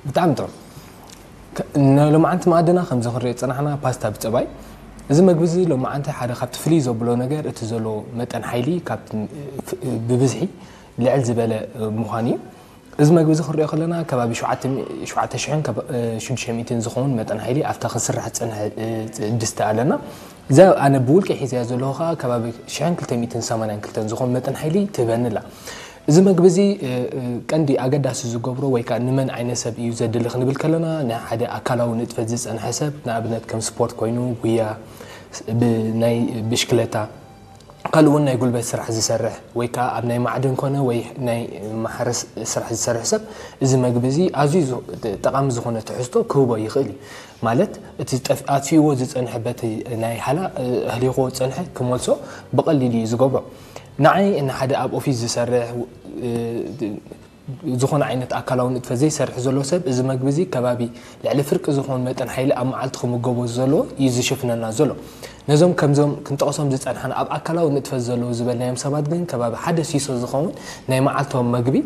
ብጣዕሚ ጥሩ። ንሎማዓንቲ መኣድና ከምዚ ክንሪኦ ዝጸናሕና ፓስታ ብጸባይ። እዚ መግቢ እዚ ሎማዓንቲ ሓደ ካብቲ ፍልይ ዘብሎ ነገር እቲ ዘሎ መጠን ሓይሊ ካብቲ ብብዝሒ ልዕል ዝበለ ምዃኑ እዩ። እዚ መግቢ እዚ ክንሪኦ ከለና ከባቢ ሸውዓተ ሽሕን ሽዱሽተ ሚእትን ዝኸውን መጠን ሓይሊ ኣብታ ክስራሕ ዝጸንሐ ድስቲ ኣለና። እዛ ኣነ ብውልቂ ሒዘያ ዘለኹ ከዓ ከባቢ ሽሕን ክልተ ሚእትን ሰማንያን ክልተን ዝኾን መጠን ሓይሊ ትህበኒ ኣላ። እዚ መግቢ እዚ ቀንዲ ኣገዳሲ ዝገብሮ ወይ ከዓ ንመን ዓይነት ሰብ እዩ ዘድሊ ክንብል ከለና፣ ናይ ሓደ ኣካላዊ ንጥፈት ዝፀንሐ ሰብ፣ ንኣብነት ከም ስፖርት ኮይኑ፣ ጉያ፣ ናይ ብሽክለታ፣ ካልእ እውን ናይ ጉልበት ስራሕ ዝሰርሕ ወይ ከዓ ኣብ ናይ ማዕድን ኮነ ወይ ናይ ማሕረስ ስራሕ ዝሰርሕ ሰብ፣ እዚ መግቢ እዚ ኣዝዩ ጠቓሚ ዝኾነ ትሕዝቶ ክህቦ ይኽእል እዩ። ማለት እቲ ኣጥፊእዎ ዝፀንሐ በቲ ናይ ሓላ ኣህሊኽዎ ዝፀንሐ ክመልሶ ብቐሊሉ እዩ ዝገብሮ። ንዓይ ንሓደ ኣብ ኦፊስ ዝሰርሕ ዝኾነ ዓይነት ኣካላዊ ንጥፈት ዘይሰርሕ ዘሎ ሰብ እዚ መግቢ እዚ ከባቢ ልዕሊ ፍርቂ ዝኾን መጠን ሓይሊ ኣብ መዓልቲ ክምገቦ ዘለዎ እዩ ዝሽፍነና ዘሎ። ነዞም ከምዞም ክንጠቕሶም ዝፀንሓና ኣብ ኣካላዊ ንጥፈት ዘለዉ ዝበልናዮም ሰባት ግን ከባቢ ሓደ ሲሶ ዝኸውን ናይ መዓልቶም መግቢ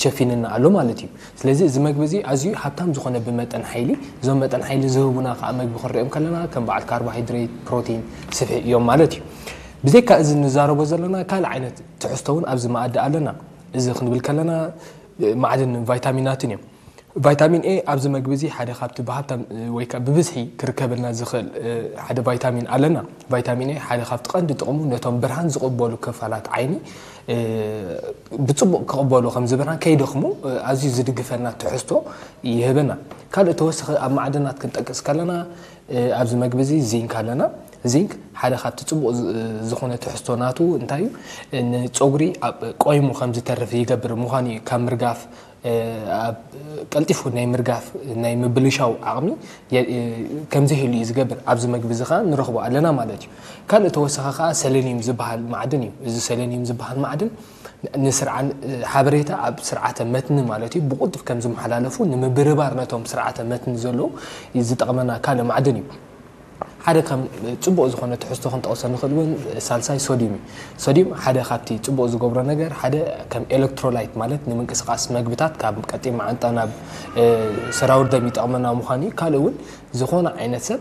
ሸፊንና ኣሎ ማለት እዩ። ስለዚ እዚ መግቢ እዚ ኣዝዩ ሃብታም ዝኾነ ብመጠን ሓይሊ፣ እዞም መጠን ሓይሊ ዝህቡና ከዓ መግቢ ክንሪኦም ከለና ከም በዓል ካርቦሃይድሬት፣ ፕሮቲን፣ ስብሒ እዮም ማለት እዩ። ብዘይካ እዚ ንዛረቦ ዘለና ካልእ ዓይነት ትሕዝቶ እውን ኣብዚ መኣዲ ኣለና። እዚ ክንብል ከለና ማዕድን ቫይታሚናትን እዮም። ቫይታሚን ኤ ኣብዚ መግቢ እዚ ሓደ ካብቲ ብሃብታም ወይ ከዓ ብብዝሒ ክርከበልና ዝኽእል ሓደ ቫይታሚን ኣለና። ቫይታሚን ኤ ሓደ ካብቲ ቀንዲ ጥቕሙ ነቶም ብርሃን ዝቕበሉ ክፋላት ዓይኒ ብፅቡቕ ክቕበሉ ከም ዝብርሃን ከይደኽሙ ኣዝዩ ዝድግፈና ትሕዝቶ ይህበና። ካልእ ተወሳኺ ኣብ ማዕድናት ክንጠቅስ ከለና ኣብዚ መግቢ እዚ ዚንክ ኣለና። ዚንክ ሓደ ካብቲ ፅቡቕ ዝኾነ ትሕዝቶ ናቱ እንታይ እዩ? ንፀጉሪ ኣብ ቆይሙ ከም ዝተርፍ ይገብር ምዃኑ እዩ። ካብ ምርጋፍ ኣብ ቀልጢፉ ናይ ምርጋፍ ናይ ምብልሻው ዓቕሚ ከምዚ ህሉ እዩ ዝገብር። ኣብዚ መግቢ እዚ ከዓ ንረኽቦ ኣለና ማለት እዩ። ካልእ ተወሳኺ ከዓ ሰለኒየም ዝበሃል ማዕድን እዩ። እዚ ሰለኒየም ዝበሃል ማዕድን ንስርዓን ሓበሬታ ኣብ ስርዓተ መትኒ ማለት እዩ ብቁልጡፍ ከም ዝመሓላለፉ ንምብርባር ነቶም ስርዓተ መትኒ ዘለዉ ዝጠቕመና ካልእ ማዕድን እዩ። ሓደ ከም ፅቡቕ ዝኾነ ትሕዝቶ ክንጠቕሶ ንኽእል እውን ሳልሳይ ሶዲዩም እዩ። ሶዲዩም ሓደ ካብቲ ፅቡቕ ዝገብሮ ነገር ሓደ ከም ኤሌክትሮላይት ማለት ንምንቅስቃስ መግብታት ካብ ቀጢን መዓንጣ ናብ ሰራውር ደም ይጠቕመና ምዃኑ እዩ። ካልእ እውን ዝኾነ ዓይነት ሰብ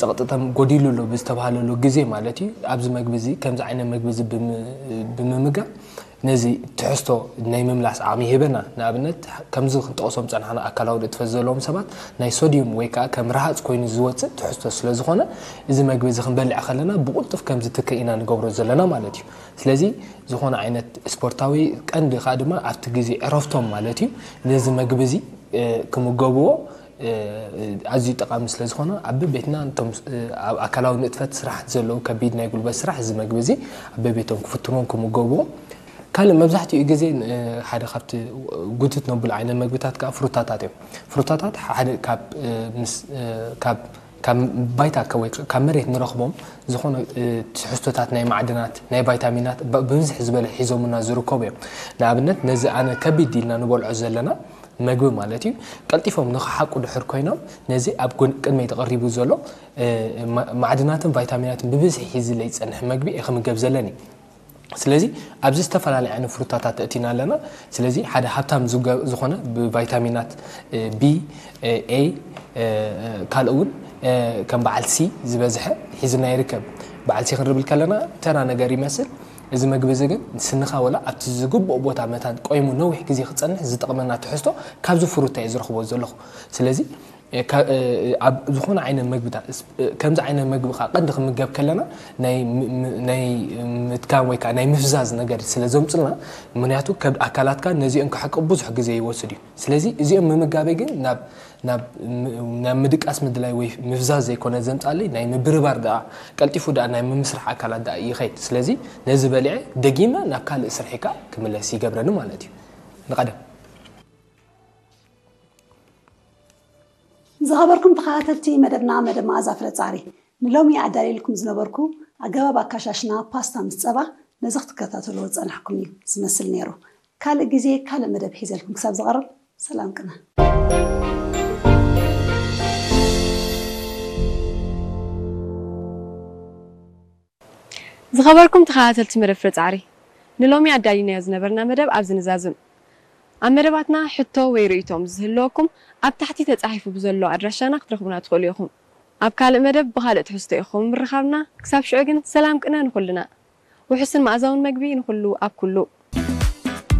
ፀቕጥተም ጎዲሉ ኣሎ ብዝተባሃለሉ ግዜ ማለት እዩ ኣብዚ መግቢ እዚ ከምዚ ዓይነት መግቢ እዚ ብምምጋብ ነዚ ትሕዝቶ ናይ ምምላስ ዓቕሚ ይህበና። ንኣብነት ከምዚ ክንጠቕሶም ዝፀናሕና ኣካላዊ ንጥፈት ዘለዎም ሰባት ናይ ሶድዩም ወይ ከዓ ከም ረሃፅ ኮይኑ ዝወፅእ ትሕዝቶ ስለ ዝኾነ እዚ መግቢ እዚ ክንበልዕ ከለና ብቁልጡፍ ከም ዝትክእ ኢና ንገብሮ ዘለና ማለት እዩ። ስለዚ ዝኾነ ዓይነት ስፖርታዊ ቀንዲ ከዓ ድማ ኣብቲ ግዜ ዕረፍቶም ማለት እዩ ነዚ መግቢ እዚ ክምገብዎ ኣዝዩ ጠቓሚ ስለ ዝኾነ ኣብ ቤትና እቶም ኣብ ኣካላዊ ንጥፈት ስራሕ ዘለዉ ከቢድ ናይ ጉልበት ስራሕ እዚ መግቢ እዚ ኣብ ቤቶም ክፍትኖም ክምገብዎ። ካልእ መብዛሕትኡ ግዜ ሓደ ካብቲ ጉትት ነብሎ ዓይነት መግብታት ከዓ ፍሩታታት እዮም። ፍሩታታት ሓደ ካብ ምስ ካብ ካብ ባይታ ወይ ካብ መሬት ንረኽቦም ዝኾነ ትሕዝቶታት ናይ ማዕድናት ናይ ቫይታሚናት ብብዝሒ ዝበለ ሒዞምና ዝርከቡ እዮም። ንኣብነት ነዚ ኣነ ከቢድ ኢልና ንበልዖ ዘለና መግቢ ማለት እዩ ቀልጢፎም ንክሓቁ ድሕር ኮይኖም ነዚ ኣብ ቅድመይ ተቐሪቡ ዘሎ ማዕድናትን ቫይታሚናትን ብብዝሒ ሒዝለይ ዝፀንሕ መግቢ እየ ክምገብ ዘለኒ። ስለዚ ኣብዚ ዝተፈላለዩ ዓይነት ፍሩታታት ተእቲና ኣለና። ስለዚ ሓደ ሃብታም ዝኾነ ብቫይታሚናት ቢ ኤ ካልእ እውን ከም በዓል ሲ ዝበዝሐ ሒዝና ይርከብ። በዓል ሲ ክንርብል ከለና ተራ ነገር ይመስል። እዚ መግቢ እዚ ግን ስንኻ ወላ ኣብቲ ዝግብኦ ቦታ መታን ቆይሙ ነዊሕ ግዜ ክፀንሕ ዝጠቕመና ትሕዝቶ ካብዚ ፍሩታ እየ ዝረኽቦ ዘለኹ። ስለዚ ኣብ ዝኾነ ዓይነት መግብታት ከምዚ ዓይነት መግቢ ከዓ ቀንዲ ክምገብ ከለና ናይ ምትካም ወይ ከዓ ናይ ምፍዛዝ ነገር ስለ ዘምፅልና ምክንያቱ ከብዲ ኣካላትካ ነዚኦም ክሕቅብ ብዙሕ ግዜ ይወስድ እዩ። ስለዚ እዚኦም ምምጋበይ ግን ናብ ናብ ምድቃስ ምድላይ ወይ ምፍዛዝ ዘይኮነ ዘምፃለይ ናይ ምብርባር ደኣ ቀልጢፉ ደኣ ናይ ምምስራሕ ኣካላት ደኣ ይኸይድ። ስለዚ ነዚ በሊዐ ደጊመ ናብ ካልእ ስርሒካ ክምለስ ይገብረኒ ማለት እዩ። ንቐደም ዝኸበርኩም ተኸታተልቲ መደብና መደብ መኣዛ ፍረ ፃዕሪ ንሎሚ ኣዳልየልኩም ዝነበርኩ ኣገባብ ኣካሻሽና ፓስታ ምስ ፀባ ነዚ ክትከታተልዎ ዝፀናሕኩም እዩ ዝመስል ነይሩ። ካልእ ግዜ ካልእ መደብ ሒዘልኩም ክሳብ ዝቐርብ ሰላም ቅነ። ዝኸበርኩም ተኸታተልቲ መደብ ፍረ ፃዕሪ ንሎሚ ኣዳሊናዮ ዝነበርና መደብ ኣብዚ ንዛዝም። ኣብ መደባትና ሕቶ ወይ ርእይቶ ምስ ዝህልወኩም ኣብ ታሕቲ ተጻሒፉ ብዘሎ ኣድራሻና ክትረኽቡና ትኽእሉ ኢኹም። ኣብ ካልእ መደብ ብኻልእ ትሕዝቶ ኢኹም ምርኻብና። ክሳብ ሽዑ ግን ሰላም ቅነ ንኹልና። ውሑስን መኣዛውን መግቢ ንኹሉ ኣብ ኩሉ።